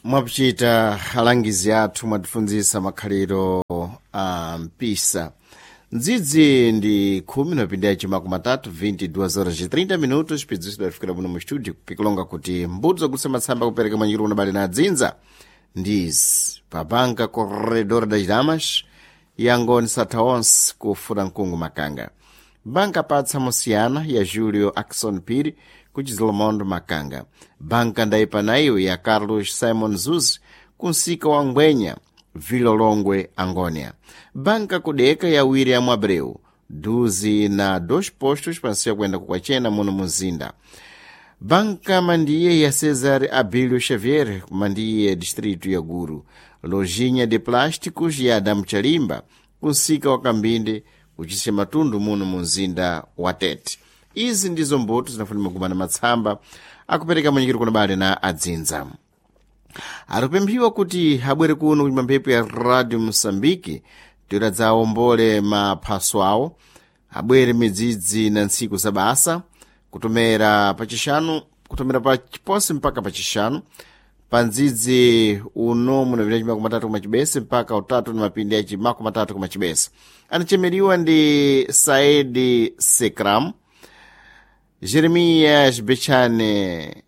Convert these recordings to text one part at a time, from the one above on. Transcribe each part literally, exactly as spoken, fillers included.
Mwakuchita alangizi athu, mwatifunzisa makhaliro a mpisa. Ndzidzi ndi khumi na pindi yaci matatu, vinte e duas horas e trinta minutos. Pidzisidwa lifikira muno mu studio pikulonga kuti mbuto zogulitsa matsamba kupereka mwanjiru unabale na adzinza ndizi pa banka Corredor das Damas yangoni satha onse kufuna mkungu Makanga, banka Patsa Mosiyana ya Julio Akson Piri kuchizolomondo Makanga, banka Ndaipanaiwe ya Carlos Simon Zuzi kunsika wa Ngwenya, Vilolongwe, Angônia, banka Kudeka ya William Abreu duzi na dos postos pansiya kuyenda kukwachena muno muzinda, banka Mandiye ya Cesar Abílio Xavier, Mandiye, distrito ya Guru, lojinha de plásticos ya Adamu Chalimba kunsika wa Kambinde kuchise matundu muno munzinda wa Tete. Izi ndizo mbuto zinafuna magumana matsamba akupereka mwenyekero kuna bale na adzinza. Aripemphiwa kuti abwere kuno kunyumba mphepo ya Radio Moçambique tiradza awombole maphaso awo. Abwere midzidzi na ntsiku za basa kutomera pachixanu, kutomera pa chiposi mpaka pachixanu pa ndzidzi uno munapita chimakumi matatu kuma chibese mpaka utatu ni mapindi ya chimakumi matatu kuma chibese. Anachemeriwa ndi Saedi Sekram, Jeremias Bechane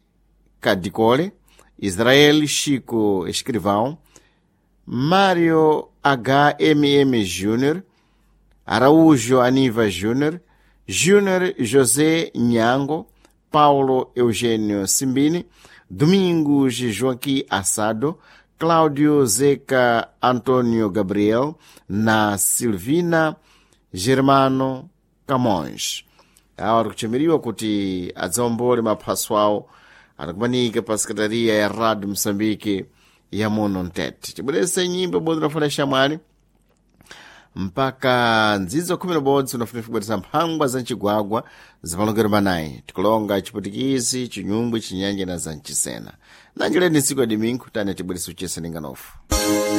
Cadicole, Israel Chico Escrivão, Mário H M M Júnior, Araújo Aniva Júnior, Júnior José Nhango, Paulo Eugênio Simbini, Domingos Joaquim Assado, Cláudio Zeca Antônio Gabriel, na Silvina Germano Camões. Awa tikuchemeriwa kuti adzaombole maphaso awo anakumanika pa sekretariya ya Radio Moçambique ya muno mtete. Tibwerese nyimbo ibodzi unafuna shamwali mpaka ndzidzo khumi na bodzi unafuna kubweresa mphangwa za mcigwagwa zapalongero manayi, tikulonga Chiputikisi, Chinyungwe, Chinyanja na za Mchisena. Nanjileni ntsiku ya dimingu tani tibwerese uchesa ndinganofu.